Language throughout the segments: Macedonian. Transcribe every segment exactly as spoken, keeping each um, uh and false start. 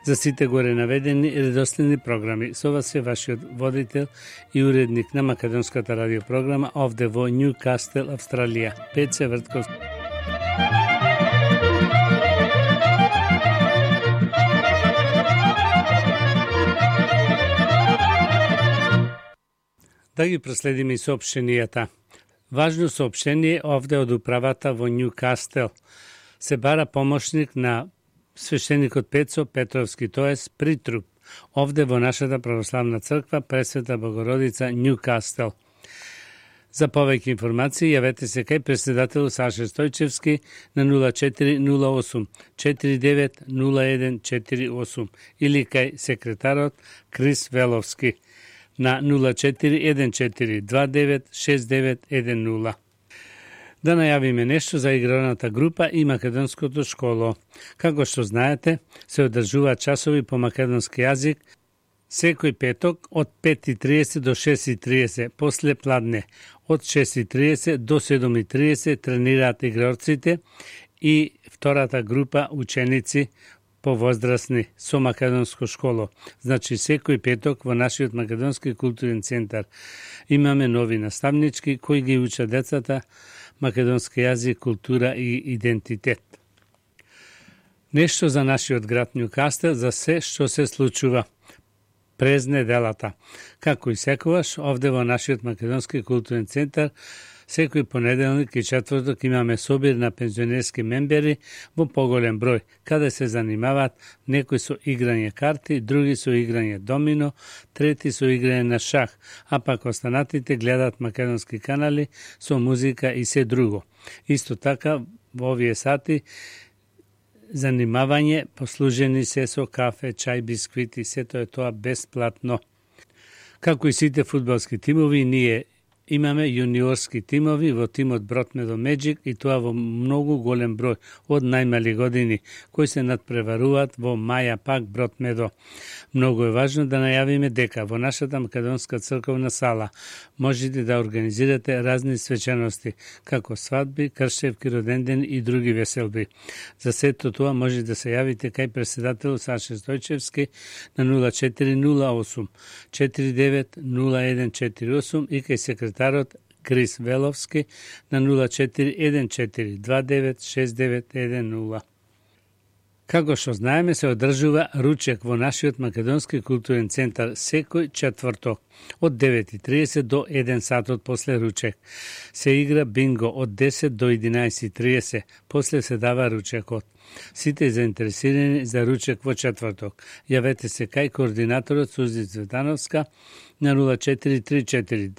за сите горе наведени редоследни програми. Со вас е вашиот водител и уредник на македонската радиопрограма овде во Ньюкастел, Австралија, Пеце Вртковски. Да ги проследиме и соопштенијата. Важно соопштение овде од управата во Ньюкастел. Се бара помошник на свештеникот Пецо Петровски, тоест притруп, овде во нашата православна црква Пресвета Богородица Ньюкастел. За повеќе информации јавете се кај председател Саша Стојчевски на нула четири нула осум четири девет нула еден четири осум или кај секретарот Крис Веловски на нула четири еден четири два девет шест девет еден нула. Да најавиме нешто за игралната група и македонското школо. Како што знаете, се одржуваат часови по македонски јазик секој петок од пет и триесет до шест и триесет после пладне. Од шест и триесет до седум и триесет тренираат игрорците и втората група ученици повозрастни со македонско школо. Значи секој петок во нашиот македонски културен центар имаме нови наставнички кои ги учат децата македонски јазик, култура и идентитет. Нешто за нашиот град Ньюкастел, за се што се случува през неделата. Како и секогаш, овде во нашиот македонски културен центар секој понеделник и четврток имаме собир на пензионерски мембери во поголем број, каде се занимаваат некои со играње карти, други со играње домино, трети со играње на шах, а пак останатите гледаат македонски канали со музика и се друго. Исто така, во овие сати занимавање послужени се со кафе, чај, бисквити, сето е тоа бесплатно. Како и сите фудбалски тимови, ние имаме јуниорски тимови во тимот Бротмедо Меджик и тоа во многу голем број од најмали години, кои се надпреваруваат во Маја Пак Бротмедо. Многу е важно да најавиме дека во нашата македонска црковна сала можете да организирате разни свечености, како свадби, кршевки, родендени и други веселби. За сето тоа може да се јавите кај председател Саша Стојчевски на нула четири нула осум четири девет нула еден четири осум и кај секретарот Крис Веловски на нула четири еден четири два девет шест девет еден нула. Како што знаеме, се одржува ручек во нашиот македонски културен центар секој четврток од девет и триесет до еден сатот после ручек. Се игра бинго од десет до единаесет и триесет, после се дава ручекот. Сите заинтересирани за ручек во четврток, јавете се кај координаторот Сузи Цветановска на нула четири три четири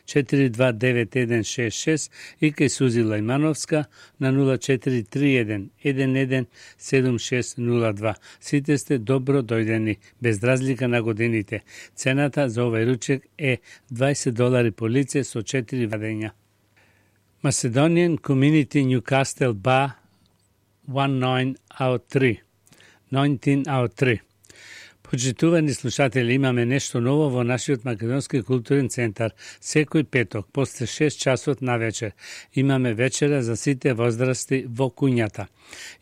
четири два девет еден шест шест и кај Сузи Лајмановска на нула четири три еден еден еден седум шест нула два. Сите сте добро дојдени, без разлика на годините. Цената за овој ручек е дваесет долари по лице со четири вадења. Macedonian Community Newcastle Bar деветнаесет out три. деветнаесет out три. Почитувани слушатели, имаме нешто ново во нашиот македонски културен центар. Секој петок, после шест часот на вечер, имаме вечера за сите возрасти во куњата.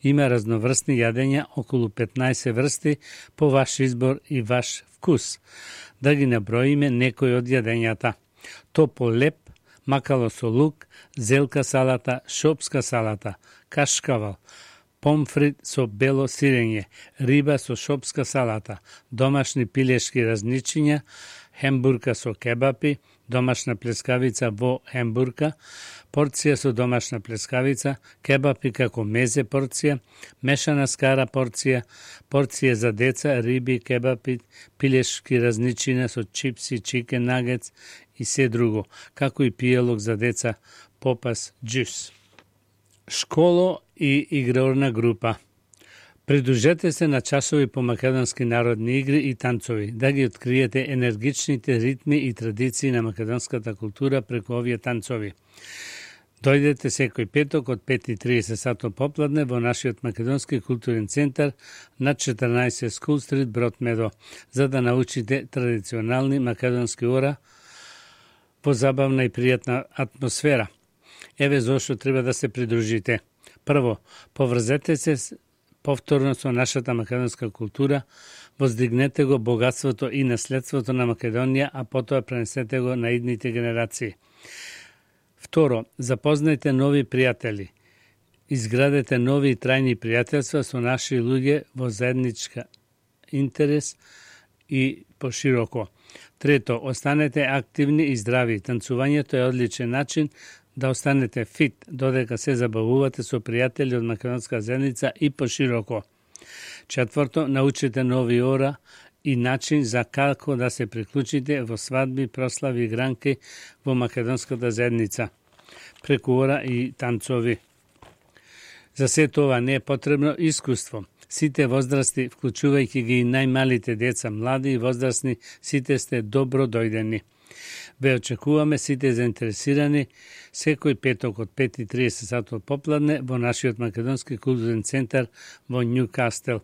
Има разноврстни јадења, околу петнаесет врсти, по ваш избор и ваш вкус. Да ги наброиме некои од јадењата. Топол леп, макало со лук, зелка салата, шопска салата, кашкавал, помфрит со бело сирење, риба со шопска салата, домашни пилешки разничиња, хембурка со кебапи, домашна плескавица во хембурка, порција со домашна плескавица, кебапи како мезе порција, мешана скара порција, порција за деца, риби, кебапи, пилешки разничиња со чипси, чикен нагетс и се друго, како и пиелок за деца, попас, джус. Школо и игрорна група. Придружете се на часови по македонски народни игри и танцови, да ги откриете енергичните ритми и традиции на македонската култура преку овие танцови. Дојдете секој петок од пет и триесет сатот попладне во нашиот македонски културен центар на четрнаесет School Street Бротмедо, за да научите традиционални македонски ора во забавна и пријатна атмосфера. Еве зошто треба да се придружите. Прво, поврзете се повторно со нашата македонска култура, воздигнете го богатството и наследството на Македонија, а потоа пренесете го на идните генерации. Второ, запознајте нови пријатели. Изградете нови и трајни пријателства со наши луѓе во заедничка интерес и пошироко. Трето, останете активни и здрави. Танцувањето е одличен начин да останете фит, додека се забавувате со пријатели од македонска заедница и пошироко. Четврто, научите нови ора и начин за како да се приклучите во свадби, прослави и гранки во македонската заедница, преку ора и танцови. За се тоа не е потребно искуство. Сите возрасти, вклучувајќи ги и најмалите деца, млади и возрастни, сите сте добро дојдени. Ве очекуваме сите заинтересирани секој петок од пет и триесет сатот попладне во нашиот македонски културен центар во Њукастел.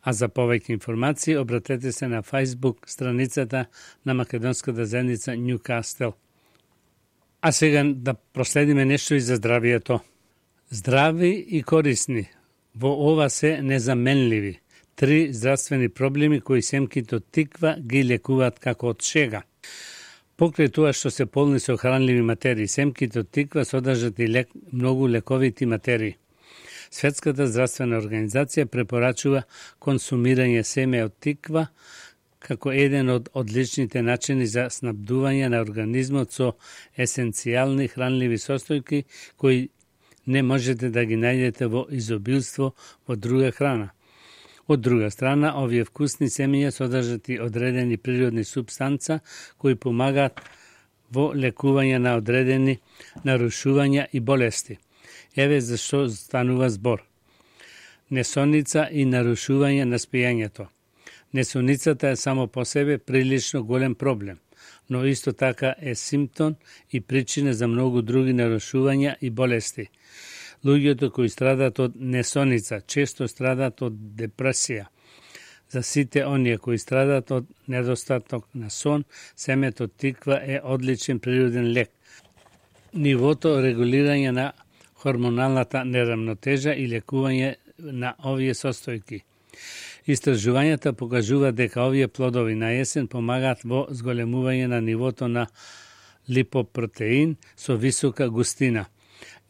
А за повеќе информации обратете се на Facebook страницата на македонската заедница Њукастел. А сега да проследиме нешто и за здравието. Здрави и корисни. Во ова се незаменливи. Три здравствени проблеми кои семките од тиква ги лекуваат како од шега. Покрај тоа што се полни со хранливи материи, семките од тиква содржат и лек, многу лековити материи. Светската здравствена организација препорачува консумирање семе од тиква како еден од одличните начини за снабдување на организмот со есенцијални хранливи состојки кои не можете да ги најдете во изобилство во друга храна. Од друга страна, овие вкусни семења содржат и одредени природни супстанца кои помагаат во лекување на одредени нарушувања и болести. Еве зашто станува збор. Несоница и нарушување на спијањето. Несоницата е само по себе прилично голем проблем, но исто така е симптом и причина за многу други нарушувања и болести. Луѓето кои страдаат од несоница често страдаат од депресија. За сите оние кои страдаат од недостаток на сон, семето од тиква е одличен природен лек. Нивото регулирање на хормоналната неравнотежа и лекување на овие состојки. Истражувањата покажуваат дека овие плодови на есен помагаат во зголемување на нивото на липопротеин со висока густина,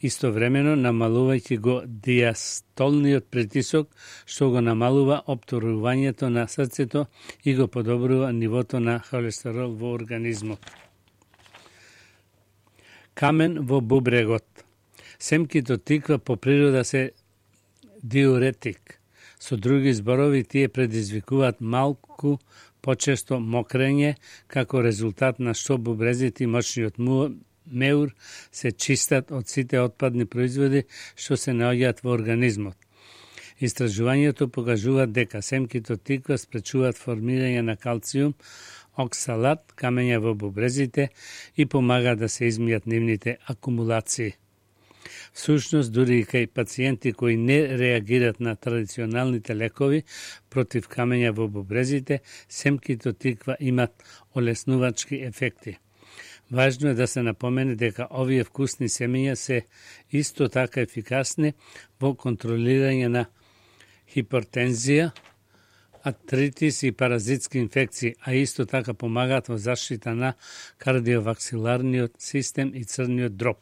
истовремено намалувајќи го диастолниот притисок, што го намалува опторувањето на срцето и го подобрува нивото на холестерол во организмот. Камен во бубрегот. Семките од тиква по природа се диуретик. Со други зборови, тие предизвикуваат малку почесто мокрење, како резултат на што бубрезите и мочниот меур се чистат од сите отпадни производи што се наоѓаат во организмот. Истражувањето покажуваат дека семките од тиква спречуваат формирање на калциум, оксалат, камења во бубрезите и помагаат да се измијат нивните акумулации. Всушност, дури и кај пациенти кои не реагират на традиционалните лекови против камења во бубрезите, семките од тиква имат олеснувачки ефекти. Важно е да се напомене дека овие вкусни семења се исто така ефикасни во контролирање на хипертензија, артритис и паразитски инфекции, а исто така помагаат во заштита на кардиоваксиларниот систем и црниот дроб.